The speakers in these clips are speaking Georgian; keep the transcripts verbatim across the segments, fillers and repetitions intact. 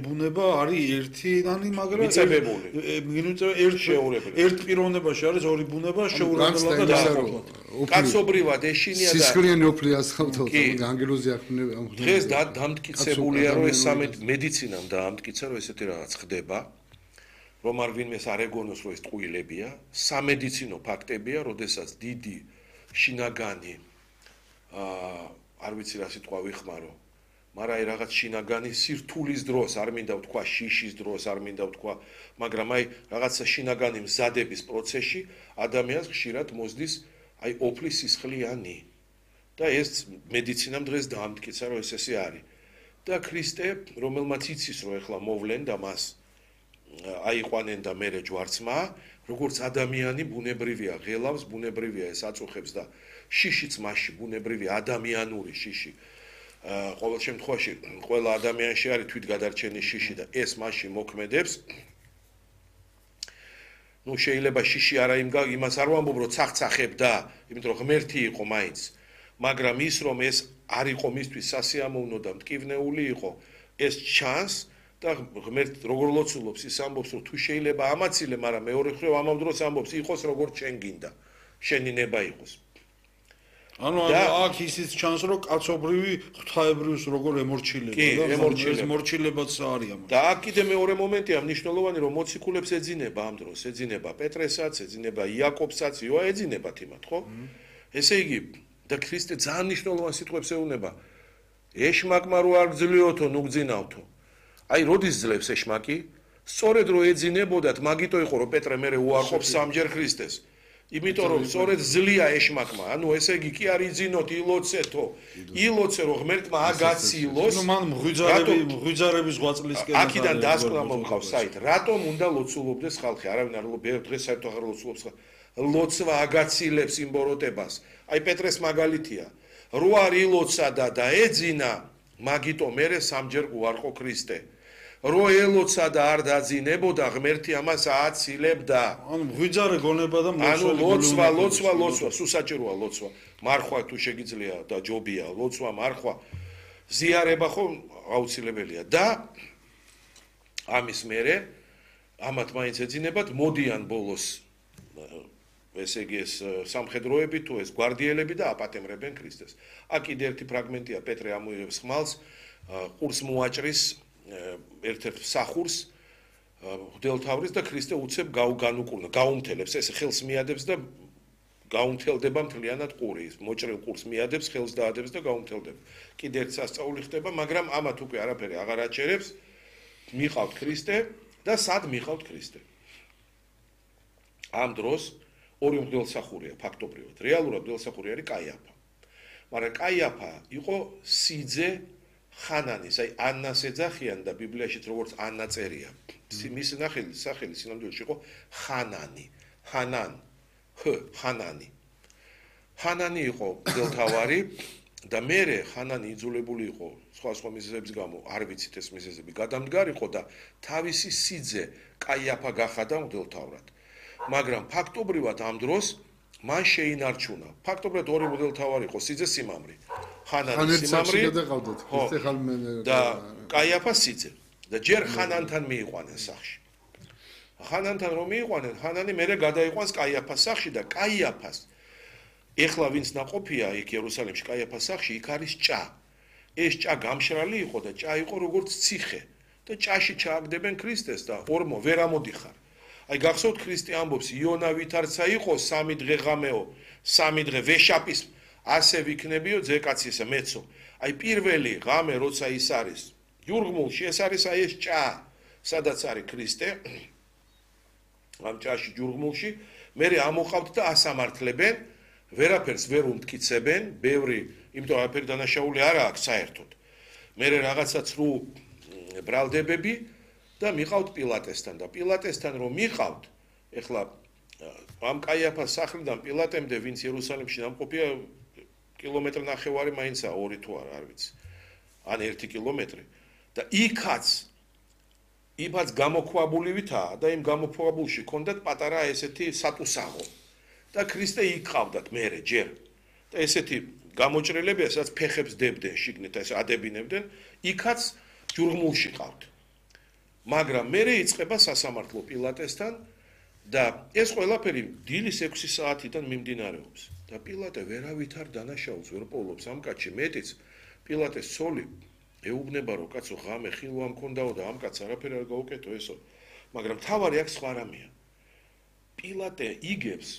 ბუნება არის ერთიანი, მაგრამ მიწებებული. ერთ ერთ პიროვნებაში არის ორი ბუნება შეურაცხმელად და დაახლოებით. კაცობრივად ეშინია და სისხლიანი ოფლი ასხავთო, ანგელოზი ახმნება. დღეს დამტკიცებულია, რომ ეს მედიცინამ დაამტკიცა, რომ ესეთი რაღაც ხდება, რომ არ ვინმეს არ ეგონოს, რომ ეს ტყუილებია, სამედიცინო ფაქტებია, როდესაც დიდი შინაგანი აა არ ვიცი რა სიტყვა ვიხმარო, მაგრამ აი რაღაც შინაგანი სირთულის დროს, არ მინდა ვთქვა შიშის დროს, არ მინდა ვთქვა, მაგრამ აი რაღაცა შინაგანი მზადების პროცესში ადამიანს ხშირად მოსდის აი ოფლის სისხლიანი. და ეს მედიცინამ დღეს დაამტკიცა, რომ ეს ესე არის. და ქრისტე, რომელმაც იცის, რომ ეხლა მოვლენ და მას აიყვანენ და მერე ჯვარცმა, როგორც ადამიანი ბუნებრივია, ღელავს ბუნებრივია, ეს აწუხებს და შიშიც მასში ბუნებრივია, ადამიანური შიში. ყოველ შემთხვევაში ყველა ადამიანში არის თვითგადარჩენის შიში და ეს მასში მოქმედებს. ნუ შეიძლება შიში არა იმას არ ვამბობ, რომ ცახცახებ და, იმიტომ რომ ღმერთი იყო მაინც, მაგრამ ის რომ ეს არ იყო მისთვის სასიამოვნო და მტკივნეული იყო, ეს ჩანს და ღმერთი როგორ ლოცულობს ის ამბობს, რომ თუ შეიძლება ამაცილე, მაგრამ მეორე მხრივ ამავ დროს ამბობს, იყოს როგორც შენ გინდა, შენი ნება იყოს. ანუ აქ ისიც ჩანს, რომ კაცობრივი ღვთაებრიოს როგორ ემორჩილება და ეს მორჩილებაც არის ამას. და აქ კიდე მეორე მომენტია მნიშვნელოვანი, რომ მოციქულებს ეძინება ამ დროს, ეძინება პეტრესაც, ეძინება იაკობსაც, იოა ეძინებათ იმათ, ხო? ესე იგი, და ქრისტე ძალიან მნიშვნელოვან სიტყვებს ეუბნება. ეშმაკმა რო არ გძლიოთო, ნუ გძინავთო. აი, როდის ძლებს ეშმაკი? სწორედ რო ეძინებოდათ, მაგიტო იყო, რომ პეტრე მერე უარყოფს სამჯერ ქრისტეს. იმიტომ რომ სწორედ ძლია ეშმაკმა, ანუ ესე იგი კი არ იძინოთ, ილოცეთო, ილოცე რომ ღმერთმა აგაციილოს. ნუ მან მღვიძარები, მღვიძარების ღვაწლისკენ აქედან დასკვნა მომყავს საით, რატომ უნდა ლოცულობდეს ხალხი? არავინ არ ლოცულობს, დღეს საერთოდ აღარ ლოცულობს. ლოცვა აგაციილებს იმბოროტებას. აი პეტრეს მაგალითია. რო არ ილოცა და დაეძინა, მაგიტო მერე სამჯერ უარყო ქრისტე. რო ელოცა და არ დაძინებოდა, ღმერთი ამას ააცილებდა. ანუ მღვიძარე გონება და ანუ ლოცვა, ლოცვა, ლოცვა, სუსაჭიროა ლოცვა. მარხვა თუ შეგიძლია და ჯობია, ლოცვა, მარხვა. ზიარება ხო აუცილებელია და ამის მერე ამათ მაინც ეძინებათ, მოდიან ბოლოს ესე იგი ეს სამხედროები თუ ეს გვარდიელები და აპატემრებენ ქრისტეს. აქ კიდე ერთი ფრაგმენტია, პეტრე ამოიღებს ხმალს, ყურს მოაჭრის ერთ-ერთ სახურს ღვთელთავრის და ქრისტე უცებ გაუგანუკურნა, გაუმთელებს, ეს ხელს მიადებს და გაუმთელდება მთლიანად ყური, მოჭრილ ყურს მიადებს, ხელს დაადებს და გაუმთელდება. კიდე ერთ სასწაული ხდება, მაგრამ ამათ უკვე არაფერი აღარ აჩერებს. მიყავთ ქრისტე და სად მიყავთ ქრისტე? ამ დროს ორი მღვდელსახურია ფაქტობრივად. რეალურად მღვდელსახური არის კაიაფა. მაგრამ კაიაფა იყო სიძე ხანანის, აი ანას ეძახიან და ბიბლიაშიც როგორც ანა წერია. მის სახელი, სახელი სინამდვილეში იყო ხანანი, ხანან, ხ, ხანანი. ხანანი იყო მღვდელთავარი და მერე ხანანი იძულებული იყო სხვა სხვა მიზეზების გამო, არ ვიცით ეს მიზეზები, გადამდგარიყო და თავისი სიძე კაიაფა გახადა მღვდელთავრად. მაგრამ ფაქტობრივად ამ დროს მან შეინარჩუნა. ფაქტობრივად ორი მღვდელთავარი იყო, სიძე სიმამრი. ხანანი სიმამრი და კაიაფა სიძე. და ჯერ ხანანთან მიიყვანენ სახში. ხანანთან რომ მიიყვანენ, ხანანი მერე გადაიყვანს კაიაფას სახში და კაიაფას ეხლა ვინც ნაყოფია იქ იერუსალიმში კაიაფას სახში, იქ არის ჭა. ეს ჭა გამშრალი იყო და ჭა იყო როგორც ციხე და ჭაში ჩააგდებენ ქრისტეს და ორმო ვერ ამოდიხარ. აი გახსოვთ ქრისტე ამბობს იონა ვითარცა იყო სამი დღე ღამეო, სამი დღე ვეშაპის ასე ვიქნებიო ძეკაცისა მეცო. აი პირველი ღამე როცა ის არის ჯურგმულში, ეს არის აი ეს ჭა, სადაც არის ქრისტე. ამ ჭაში ჯურგმულში მერე ამოყავთ და ასამართლებენ, ვერაფერს ვერ უმტკიცებენ, ბევრი, იმიტომ არაფერი დანაშაული არა აქვს საერთოდ. მერე რაღაცა ცრუ ბრალდებები და მიყავთ პილატესთან და პილატესთან რომ მიყავთ, ეხლა ამ კაიაფას სახლიდან პილატემდე ვინც იერუსალიმში დამყოფია კილომეტრი ნახევარი მაინცა ორი თუ არა, არ ვიცი. ან ერთი კილომეტრი და იქაც იმაც გამოქვაბულივითაა და იმ გამოქვაბულში ჰქონდათ პატარა ესეთი სატუსაღო და ქრისტე იყავდათ მერე ჯერ და ესეთი გამოჭრელებია, სადაც ფეხებს დებდნენ შიგნით, ეს ადებინებდნენ, იქაც ჯურგმულში ყავთ. მაგრამ მერე იწყება სასამართლო პილატესთან და ეს ყველაფერი დილის ექვსი საათიდან მიმდინარეობს და პილატე ვერავით არ დანაშაულს ვერ პოულობს ამ კაცში მეტიც პილატეს ცოლი ეუბნება რომ კაცო ღამე ხილვა მქონდაო და ამ კაცს არაფერი არ გაუკეთო ესო მაგრამ თავარი აქ სხვა რამეა პილატე იგებს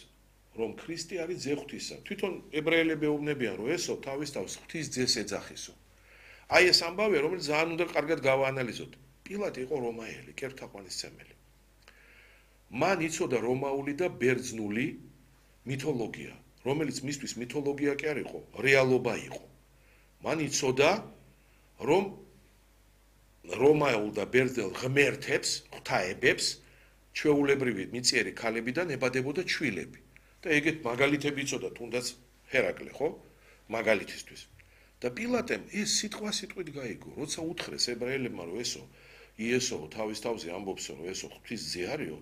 რომ ქრისტე არის ძე ღვთისა თვითონ ებრაელები ეუბნებიან რომ ესო თავის თავს ღვთის ძეს ეძახისო აი ეს ამბავია რომელიც ძალიან უნდა კარგად გავაანალიზოთ პილატე იყო რომაელი კერპთაყვანისმცემელი მან იცოდა რომაული და ბერძნული მითოლოგია რომელიც მისთვის მითოლოგია კი არ იყო რეალობა იყო მან იცოდა რომ რომაულ და ბერძნულ ღმერთებს ღვთაებებს ჩვეულებრივი მიწიერი ქალებიდან ებადებოდა ჩვილები და ეგეთ მაგალითები იცოდა თუნდაც ჰერაკლე ხო მაგალითისთვის და პილატემ ეს სიტყვა სიტყვით გაიგო როცა უთხრეს ებრაელებმა რომ ესო იესო თავის თავზე ამბობს რომ ესო ღვთის ძე არისო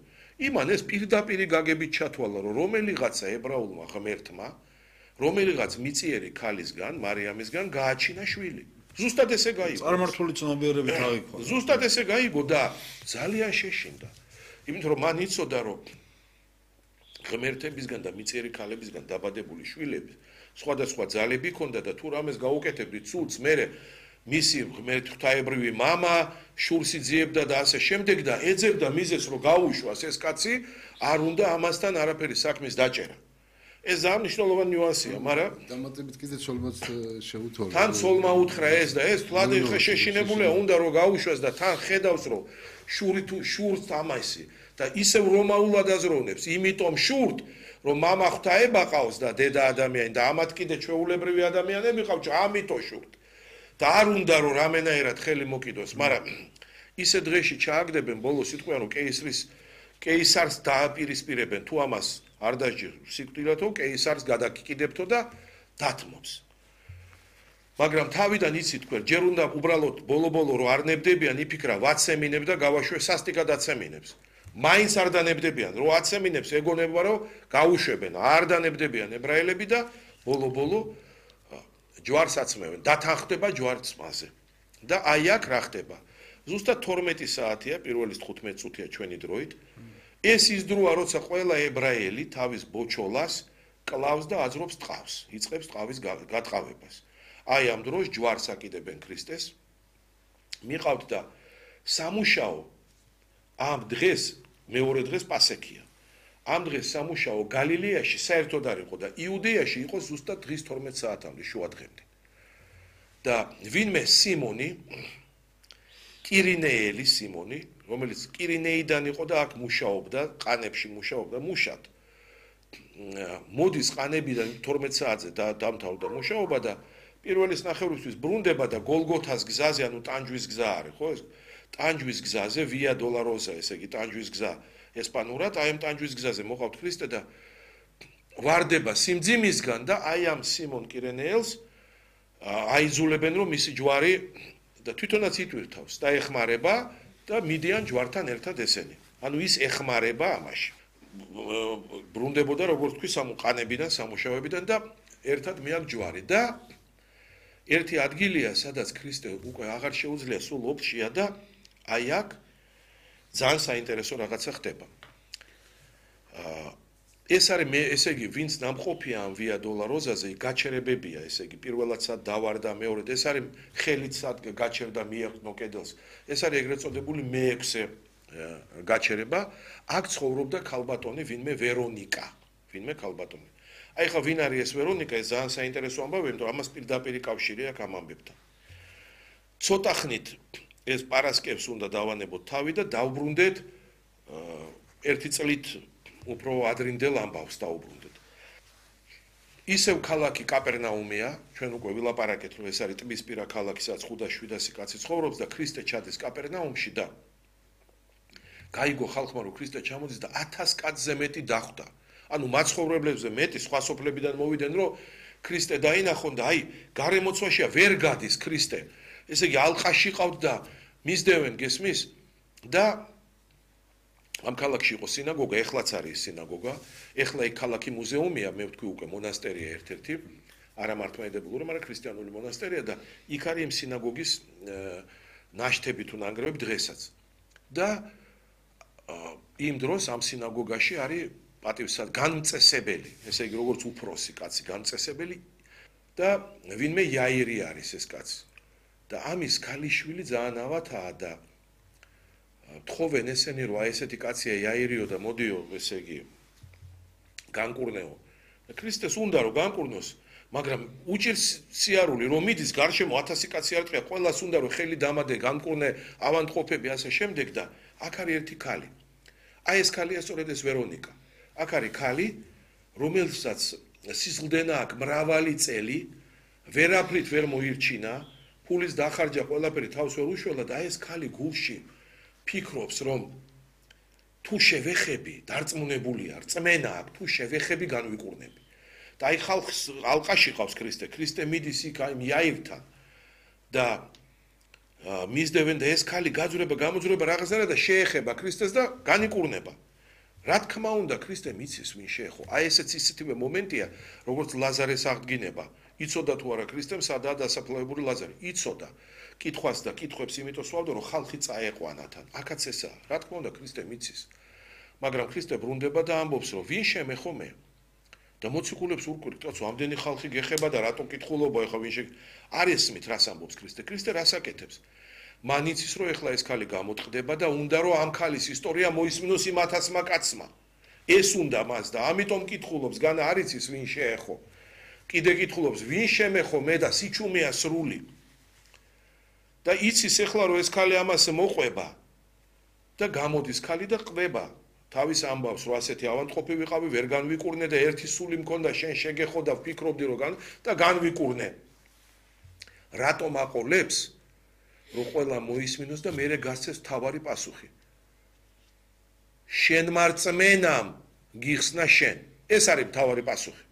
იმან ეს პირდაპირი გაგებით ჩათვალა რომ რომელიღაცა ებრაულმა ღმერთმა რომელიღაც მიწიერი ქალისგან მარიამისგან გააჩინა შვილი ზუსტად ესე გაიგო წარმართული ცნობიერებით აიქვა ზუსტად ესე გაიგო და ძალიან შეშინდა იმიტომ რომ მან იცოდა რომ ღმერთებისგან და მიწიერი ქალებისგან დაბადებული შვილები სხვადასხვა ძალები ჰქონდა და თუ რამეს გაუკეთებდი ცუდს მერე მისი ღმერთ ღვთაებრივი მამა შურს იძიებდა და ასე შემდეგ და ეძებდა მიზეს რომ გაუშვას ეს კაცი არ უნდა ამასთან არაფერი საქმის დაჭერა ეს ძალიან მნიშვნელოვანი ნიუანსია მაგრამ დამატებით კიდე ცოლმაც შეუთვალა თან ცოლმა უთხრა ეს და ეს თლად ხე შეშინებულია უნდა რომ გაუშვას და თან ხედავს რომ შური თუ შურს ამასი და ისევ რომაულად აზროვნებს იმიტომ შურთ რომ მამა ღვთაება ყავს და დედა ადამიანი და ამათ კიდე ჩვეულებრივი ადამიანები ყავს ამიტომ შურთ და არ უნდა რომ რამენაერად ხელი მოკიდოს მაგრამ ისე დღეში ჩააგდებენ ბოლოს იტყვიან რომ კეისრის კეისარს დააპირისპირებენ თუ ამას არ დაჯერ სიკვდილათო კეისარს გადაკიკიდებთო და დათმობს მაგრამ თავიდან იცით თქვენ ჯერ უნდა უბრალოდ ბოლო-ბოლო რომ არ ნებდებიან იფიქრა ვაცემინებ და გავაშვე სასტიკად აცემინებს მაინც არ დანებდებიან რომ აცემინებს ეგონება რომ გაუშვებენ არ დანებდებიან ებრაელები და ბოლო-ბოლო ჯვარს აცმევენ დათანხდება ჯვარწმაზე და აი აქ რა ხდება ზუსტად თორმეტი საათია პირველი თხუთმეტი წუთია ჩვენი დროით ეს ის დროა როცა ყველა ებრაელი თავის ბოჩოლას კლავს და აძრობს ტყავს იწყებს ტყავის გატყავებას აი ამ დროს ჯვარს აკიდებენ ქრისტეს მიყავთ და სამუშაო ამ დღეს მეორე დღეს პასექია ამ დღეს სამუშაო გალილეაში საერთოდ არ იყო და იუდეაში იყო ზუსტად დღის თორმეტ საათამდე შუა დღემდე და ვინმე სიმონი კირინეელი სიმონი რომელიც კირინეიდან იყო და აქ მუშაობდა ყანებში მუშაობდა მუშად მოდის ყანებიდან თორმეტ საათზე და დამთავრდა მუშაობა და პირველის ნახევრისთვის ბრუნდება და გოლგოთას გზაზე ანუ ტანჯვის გზა არის ხო ეს ტანჯვის გზაზე ვია დოლაროზა ესე იგი ტანჯვის გზა ესპანურად აი ამ ტანჯვის გზაზე მოყავთ ქრისტე და ვარდება სიმძიმისგან და აი ამ სიმონ კირენეელს აიძულებენ რომ მისი ჯვარი და თვითონაც იტვირთავს და ეხმარება და მიდიან ჯვართან ერთად ესენი ანუ ის ეხმარება ამაში ბრუნდებოდა როგორც თქვი სამყანებიდან სამუშაოებიდან და ერთად მიაკ ჯვარი და ერთი ადგილია სადაც ქრისტე უკვე აღარ შეუძლია სულ ოფშია და აი აქ ძალიან საინტერესო რაღაცა ხდება. ეს არის მე ესე იგი ვინც ნამყოფია ამ ვია დოლაროზაზე გაჩერებებია ესე იგი პირველად სად დავარდა მეორედ ეს არის ხელით სად გაჩერდა მიეყნო კედელს ეს არის ეგრეთ წოდებული მეექვსე გაჩერება აქ ცხოვრობდა ქალბატონი ვინმე ვერონიკა ვინმე ქალბატონი აი ხა ვინ არის ეს ვერონიკა ეს ძალიან საინტერესო ამბავია იმიტომ ამას პირდაპირი კავშირი აქვს ამ ამბებთან ცოტა ხნით ეს პარასკევს უნდა დავანებოთ თავი და დავბრუნდეთ ერთი წლით უფრო ადრინდელ ამბავს დაუბრუნდეთ. ისევ ქალაქი კაპერნაუმია, ჩვენ უკვე ვილაპარაკეთ, რომ ეს არის ტბისპირა ქალაქი, სადაც ხუთას შვიდასი კაცი ცხოვრობს და ქრისტე ჩადის კაპერნაუმში და გაიგო ხალხმა, რომ ქრისტე ჩამოდის და ათას კაცზე მეტი დახვდა. ანუ მაცხოვრებლებზე მეტი სხვა სოფლებიდან მოვიდნენ, რომ ქრისტე დაინახონ და აი, გარემოცვაშია ვერ გადის ქრისტე. ესე იგი ალყაში ყავთ და მისდევენ გესმის და ამ ქალაქში იყო სინაგოგა, ეხლაც არის სინაგოგა, ეხლა იქ ქალაქი მუზეუმია, მე ვთქვი უკვე მონასტერია ერთ-ერთი, არა მართლმადიდებლური, მაგრამ ქრისტიანული მონასტერია და იქ არის იმ სინაგოგის ნაშთები თუ ნანგრევები დღესაც. და იმ დროს ამ სინაგოგაში არის პატივსად განმწესებელი, ესე იგი როგორც უფროსი კაცი განმწესებელი და ვინმე იაირი არის ეს კაცი. და ამის ქალიშვილი ძალიან ავათაა და თხოვენ ესენი რომ აი ესეთი კაცია იაირიო და მოდიო, ესე იგი განკურნეო. და ქრისტეს უნდა რომ განკურნოს, მაგრამ უჭირს სიარული რომ მიდის გარშემო ათასი კაცი არ ყია, ყველას უნდა რომ ხელი დამადე, განკურნე, ავანტყოფები ასე შემდეგ და აქ არის ერთი ქალი. აი ეს ქალია სწორედ ეს ვერონიკა. აქ არის ქალი, რომელსაც სიზღდენა აქვს მრავალი წელი, ვერაფრით ვერ მოირჩინა, ფულის დახარჯა ყველაფერი თავს ვერ უშველა და აი ეს ქალი გულში ფიქრობს, რომ თუ შევეხები, დარწმუნებულია, რწმენა აქვს, თუ შევეხები განვიკურნები. და აი ხალხს ალყაში ყავს ქრისტე, ქრისტე მიდის იქ აი იაირთან და მისდევენ და ეს ქალი გაძვრება, გამოძვრება რაღაცა და შეეხება ქრისტეს და განიკურნება. რა თქმა უნდა, ქრისტე მიცის ვინ შეეხო. აი ესეც ისეთივე მომენტია, როგორც ლაზარეს აღდგინება. იცოდა თუ არა ქრისტემ სადაა დასაფლავებული ლაზარე. იცოდა. კითხვას და კითხვებს იმიტომ სვავდა, რომ ხალხი წაეყვანათან. აქაც ესაა. რა თქმა უნდა, ქრისტე მიცის. მაგრამ ქრისტე ბრუნდება და ამბობს, რომ ვინ შემეხო მე? და მოციქულებს ურკვევთ, რატო ამდენი ხალხი გეხება და რატო კითხულობა ეხა ვინ შე არ ესმით რას ამბობს ქრისტე? ქრისტე რას აკეთებს? მან იცის რომ ეხლა ეს ქალი გამოწყდება და უნდა რომ ამ ქალის ისტორია მოისმინოს იმ ათასმა კაცმა. ეს უნდა მას და ამიტომ კითხულობს, განა არ იცის ვინ შეეხო. კიდე კითხულობს, ვინ შემეხო მე და სიჩუმეა სრული. და იცის ეხლა რომ ეს ქალი ამას მოყვება და გამოდის ქალი და ყვება. თავის ამბავს რომ ასეთი ავანტყოფი ვიყავი, ვერ განვიკურნე და ერთი სული მქონდა შენ შეგეხო და ვფიქრობდი რომ გან და განვიკურნე. რატომ აყოლებს? რომ ყველა მოისმინოს და მერე გასცეს თავარი პასუხი. შენ მარწმენამ გიხსნა შენ. ეს არის თავარი პასუხი.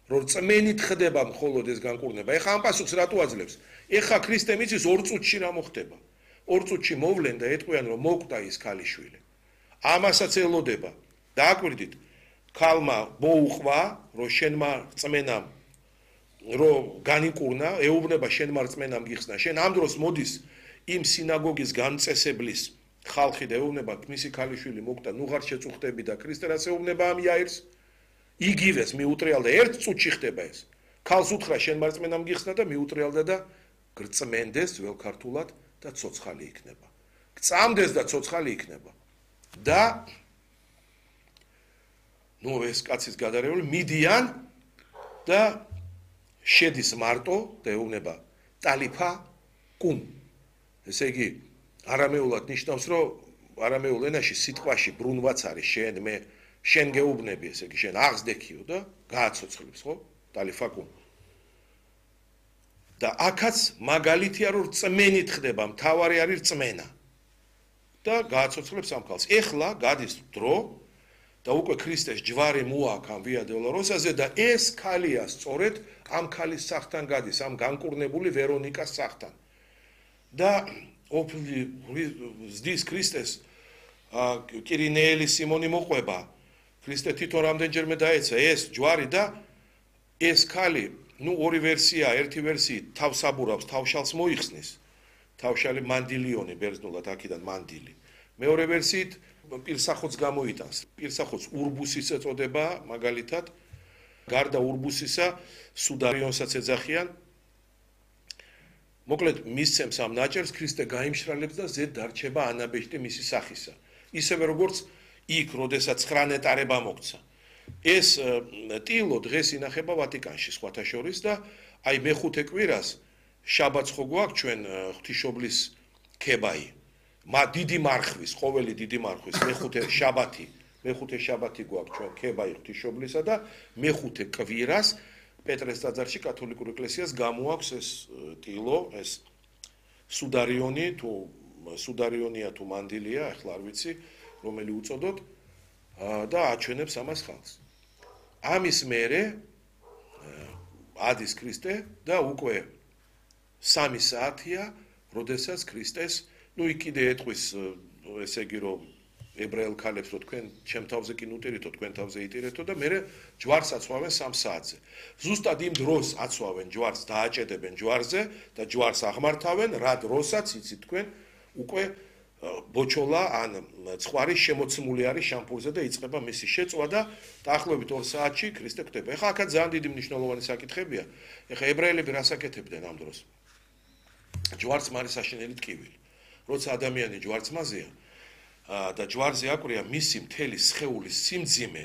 რომ წმენით ხდება მხოლოდ ეს განკურნება. ეხა ამ პასუხს რატო აძლევს? ეხა ქრისტე მიცის ორ წუთში რა მოხდება? ორ წუთში მოვლენ და ეტყვიან რომ მოკვდა ის ქალიშვილი. ამასაც ელოდება. დააკვირდით, ქალმა მოუყვა, რომ შენმა წმენამ რომ განიკურნა, ეუბნება შენმა რწმენამ გიხსნა. შენ ამ დროს მოდის იმ სინაგოგის განწესებლის ხალხი და ეუბნება მისი ქალიშვილი მოკვდა, ნუ ღარ შეწუხდები და ქრისტე რას ეუბნება ამ იაირს? იგივეს მიუტრიალდა ერთ წუთში ხდება ეს. ქალს უთხრა შენმა რწმენამ გიხსნა და მიუტრიალდა და გრწმენდეს ძველ ქართულად და ცოცხალი იქნება. გწამდეს და ცოცხალი იქნება. და ნუ ეს კაცის გადარეული მიდიან და შედის მარტო და ეუბნება ტალიფა კუმ. ესე იგი არამეულად ნიშნავს, რომ არამეულ ენაში სიტყვაში ბრუნვაც არის შენ მე შენ გეუბნები, ესე იგი შენ აღზდექიო და გააცოცხლებს, ხო? ტალიფა კუმ. და აქაც მაგალითია რომ რწმენით ხდება, მთავარი არის რწმენა. და გააცოცხლებს ამ ქალს. ეხლა გადის დრო და უკვე ქრისტეს ჯვარი მოაქვს ამ ვია დოლოროსაზე და ეს ქალია სწორედ ამ ქალის სახთან გადის, ამ განკურნებული ვერონიკას სახთან. და ოფლი ზდის ქრისტეს კირინეელი სიმონი მოყვება. ქრისტე თვითონ რამდენჯერმე დაეცა ეს ჯვარი და ეს ქალი, ნუ ორი ვერსია, ერთი ვერსიით თავსაბურავს, თავშალს მოიხსნის. თავშალი მანდილიონი ბერძნულად აქედან მანდილი. მეორე ვერსიით პირსახოც გამოიტანს. პირსახოც ურბუსის ეწოდება მაგალითად. გარდა ურბუსისა სუდარიონსაც ეძახიან. მოკლედ მისცემს ამ ნაჭერს, ქრისტე გაიმშრალებს და ზედ დარჩება ანაბეჭდი მისი სახისა. ისევე როგორც იქ, როდესაც ცხრა ნეტარება მოგცა. ეს ტილო დღეს ინახება ვატიკანში სხვათა შორის და აი მეხუთე კვირას შაბათს ხო გვაქვს ჩვენ ღვთისმშობლის ქებაი. მა დიდი მარხვის, ყოველი დიდი მარხვის მეხუთე შაბათი, მეხუთე შაბათი გვაქვს ჩვენ ქებაი ღვთისმშობლისა და მეხუთე კვირას პეტრეს ტაძარში კათოლიკურ ეკლესიას გამოაქვს ეს ტილო, ეს სუდარიონი თუ სუდარიონია თუ მანდილია, ახლა არ ვიცი, რომელი უწოდოთ და აჩვენებს ამას ხალხს. ამის მერე ადის ქრისტე და უკვე სამი საათია, როდესაც ქრისტეს, ნუ იქ კიდე ეტყვის, ესე იგი რომ ებრაელ ქალებს რომ თქვენ ჩემ თავზე კი ნუტირითო, თქვენ თავზე იტირეთო და მერე ჯვარს აცვავენ სამ საათზე. ზუსტად იმ დროს აცვავენ ჯვარს, დააჭედებენ ჯვარზე და ჯვარს აღმართავენ, რა დროსაც იცით თქვენ უკვე ბოჩოლა ან ცხვარი შემოცმული არის შამპურზე და იწყება მისი შეწვა და დაახლოებით ორ საათში ქრისტე კვდება. ეხლა აქაც ძალიან დიდი მნიშვნელოვანი საკითხებია. ეხლა ებრაელები რას აკეთებდნენ ამ დროს? ჯვარცმარის საშინელი ტკივილი. როცა ადამიანი ჯვარცმაზეა და ჯვარზე აკვრია მისი მთელი სხეულის სიმძიმე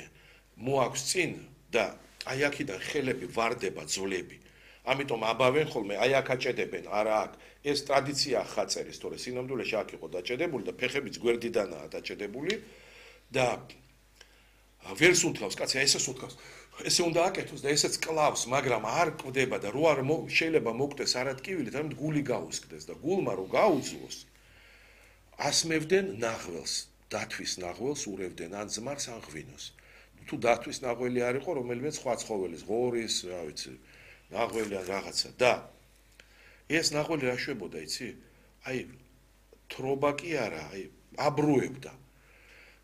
მოაქვს წინ და აი აქედან ხელები ვარდება ძვლები. ამიტომ აბავენ ხოლმე აი აქ აჭედებენ, არა აქ. ეს ტრადიცია ხაწერის, თორე სინამდვილეში აქ იყო დაჭედებული და ფეხებიც გვერდიდანაა დაჭედებული და ვერს უთავს, კაცი, ესეც უთავს. ესე უნდა აკეთოს და ესეც კლავს, მაგრამ არ კვდება და რო არ შეიძლება მოკვდეს არატკივილით, ამით გული გაუსკდეს და გულმა რო გაუძლოს, ასმევდნენ ნახველს, დათვის ნახველს ურევდნენ ან ძმარს ან ღვინოს. თუ დათვის ნაღველი არ იყო, რომელიმე სხვა ცხოველის, ღორის, რა ვიცი, ნაღველი ან რაღაცა და ეს ნაღველი რა შვებოდა, იცი? აი თრობა კი არა, აი აბრუებდა.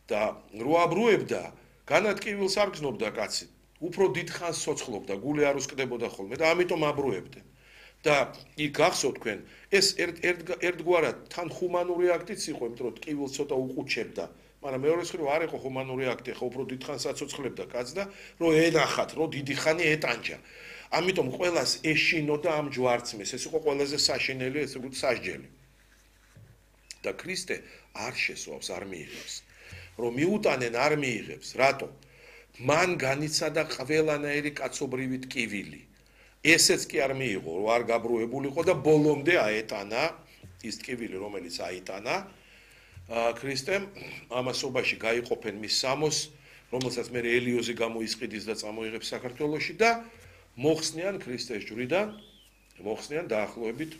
და რო აბრუებდა, განატკივილს არ გზნობდა კაცი. უფრო დიდ ხანს სოცხლობდა, გული არ უსკდებოდა ხოლმე და ამიტომ აბრუებდნენ. და იქ გახსოვთ თქვენ, ეს ერთგვარად თან ჰუმანური აქტიც იყო, იმიტომ რომ ტკივილს ცოტა უყუჩებდა. მაგრამ მეორე მხრივ არ იყო ჰუმანური აქტი, ხო უფრო დიდ ხანს აცოცხლებდა კაც და რო ენახათ, რო დიდი ხანი ეტანჯა. ამიტომ ყველას ეშინოდა ამ ჯვარცმის, ეს იყო ყველაზე საშინელი, ესე ვთქვით, სასჯელი. და ქრისტე არ შესვავს, არ მიიღებს. რომ მიუტანენ არ მიიღებს, რატო? მან განიცადა ყველანაირი კაცობრივი ტკივილი. ესეც კი არ მიიღო, რომ არ გაბრუებულიყო და ბოლომდე აეტანა ის ტკივილი, რომელიც აიტანა ქრისტემ, ამასობაში გაიყოფენ მის სამოს, რომელსაც მე ელიოზი გამოისყიდის და წამოიღებს საქართველოში და მოხსნიან ქრისტეს ჯვრიდან, მოხსნიან დაახლოებით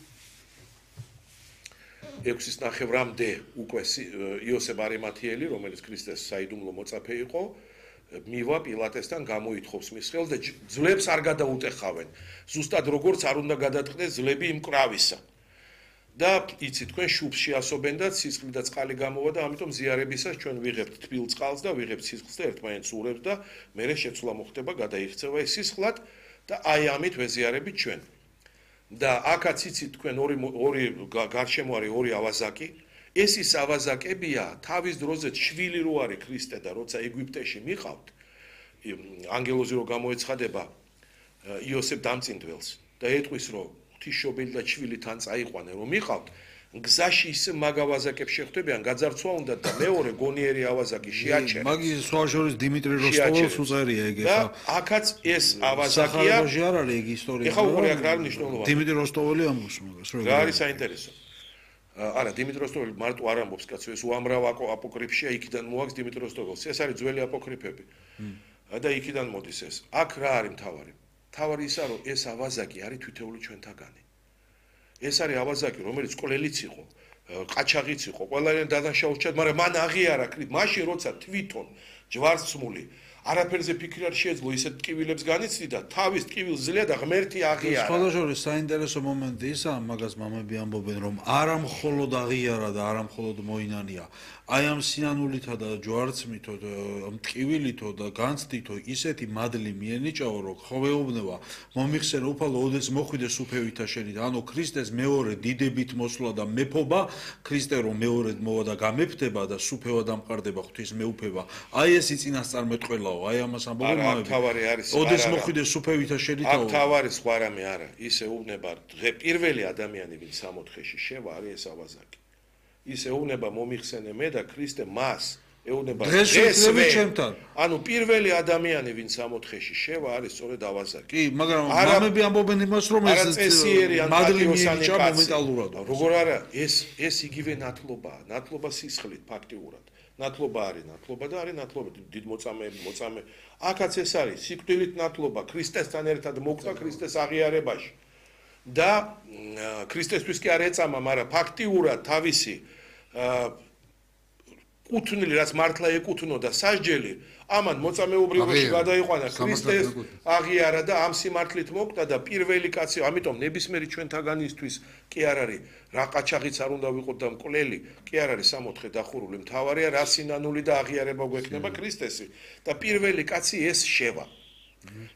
ექვსის ნახევრამდე უკვე იოსებ არიმათიელი, რომელიც ქრისტეს საიდუმლო მოწაფე იყო, მივა პილატესთან გამოითხოვს მის ხელს და ძლებს არ გადაუტეხავენ. ზუსტად როგორც არ უნდა გადატყდეს ძლები იმ კრავისა. და იცით თქვენ შუბს შეასობენ და სისხლი და წყალი გამოვა და ამიტომ ზიარებისას ჩვენ ვიღებთ თბილ წყალს და ვიღებთ სისხლს და ერთმანეთს ურევს და მერე შეცვლა მოხდება, გადაიქცევა ეს სისხლად და აი ამით ვეზიარებით ჩვენ. და აქაც იცით თქვენ ორი ორი გარშემო არის ორი ავაზაკი. ეს ის ავაზაკებია, თავის დროზე შვილი რო არის ქრისტე და როცა ეგვიპტეში მიყავთ, ანგელოზი რო გამოეცხადება იოსებ დამწინდველს და ეტყვის რომ ღვთისმშობელი და შვილი თან წაიყვანენ რომ მიყავთ, გზაში ისე მაგ ავაზაკებს შეხვდებიან, გაძარცვა უნდა და მეორე გონიერი ავაზაკი შეაჩერეს. მაგის სხვა შორის დიმიტრი როსტოველს უწერია ეგ და აქაც ეს ავაზაკია. სახალხოში არ არის ეგ ისტორია. ეხა უკვე აქ რა არის მნიშვნელოვანი? დიმიტრი როსტოველი ამბობს მაგას, რა. რა არის საინტერესო? არა, დიმიტრი როსტოველი მარტო არ ამბობს, კაცო, ეს უამრავ აპოკრიფშია, იქიდან მოაქვს დიმიტრი როსტოველს. ეს არის ძველი აპოკრიფები. და იქიდან მოდის ეს. აქ რა არის მთავარი? მთავარი ისაა, რომ ეს ავაზაკი არის თვითეული ჩვენთაგანი. ეს არის ავაზაკი, რომელიც კვლელიც იყო, ყაჩაღიც იყო, ყველანი დადანაშაულჩად, მაგრამ მან აღიარა ქრით, მაშინ როცა თვითონ ჯვარცმული არაფერზე ფიქრი არ შეეძლო, ისეთ ტკივილებს განიცდიდა, თავის ტკივილს ძლია და ღმერთი აღიარა. სხვა შორის საინტერესო მომენტი ისაა, მაგას მამები ამბობენ, რომ არა მხოლოდ აღიარა და არა მხოლოდ მოინანია. აი ამ სინანულითა და ჯვარცმითო და ტკივილითო და განცდითო ისეთი მადლი მიენიჭაო, რომ ხოვეობნება მომიხსენე უფალო ოდეს მოხვიდე სუფევითა შენით, ანუ ქრისტეს მეორე დიდებით მოსვლა და მეფობა, ქრისტე რომ მეორედ მოვა და გამეფდება და სუფევა დამყარდება ღვთის მეუფება. აი ეს იწინასწარმეტყველაო, აი ამას ამბობენ მამები. თავარი არის, ოდეს მოხვიდე სუფევითა შენითაო. აქ თავარი სხვა რამე არა, ისე უუბნება პირველი ადამიანი, ვინც სამოთხეში შევა, არის ეს ავაზაკი. ის ეუბნება მომიხსენე მე და ქრისტე მას ეუბნება დღესვე ჩემთან. ანუ პირველი ადამიანი ვინც სამოთხეში შევა არის სწორედ ავაზაკი. კი, მაგრამ მამები ამბობენ იმას რომ ეს მადლი მიენიჭა მომენტალურად. როგორ არა, ეს ეს იგივე ნათლობაა, ნათლობა სისხლით ფაქტიურად. ნათლობა არის ნათლობა და არის ნათლობა დიდ მოწამეები, მოწამე. აქაც ეს არის სიკვდილით ნათლობა, ქრისტესთან ერთად მოკვდა ქრისტეს აღიარებაში. და ქრისტესთვის კი არ ეწამა, მაგრამ ფაქტიურად თავისი კუთვნილი, რაც მართლა ეკუთვნოდა სასჯელი, ამან მოწამეუბრიობაში გადაიყვანა ქრისტეს აღიარა და ამ სიმართლით მოკვდა და პირველი კაცი, ამიტომ ნებისმიერი ჩვენთაგანისთვის კი არ არის რა ყაჩაღიც არ უნდა ვიყოთ და მკვლელი, კი არ არის სამოთხე დახურული, მთავარია რა სინანული და აღიარება გვექნება ქრისტესი და პირველი კაცი ეს შევა.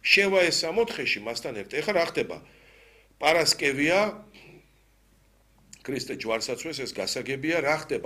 შევა ეს სამოთხეში მასთან ერთად. ეხლა რა ხდება? პარასკევია ქრისტე ჯვარს აწვეს, ეს გასაგებია, რა ხდება?